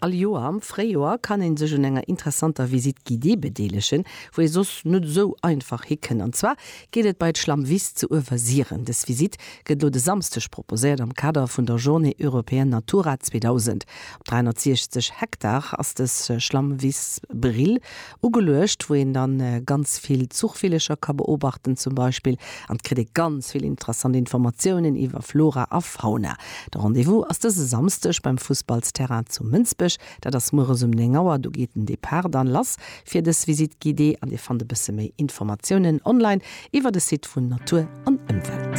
All Joer am Fréijoer kann een sech un enger interessanter Visite guidée bedeelegen, wou ee soss net esou einfach hikënnt. An zwar geet et bei d'Schlammwiss zu Uewersiren. Dës Visite gëtt elo de Samsdeg proposéiert am Kader vun der Journée européenne Natura 2000. Op 360 Hektar ass dës Schlammwiss Brill ugeluecht, wou een dann ganz vill Zuchvillecher ka beobachten zum Beispill an et kritt ee ganz vill interessant Informatiounen iwwer Flora a Fauna. De Rendez-vous ass dëse Samsdeg beim Fussballsterrain zu Mënsbech, dat ass mueres um 9 Auer. Do geet den Depart dann lass fir dës Visite guidée an Dir fannt e bësse méi Informatiounen online iwwer de Site vun Natur an Ëmwelt.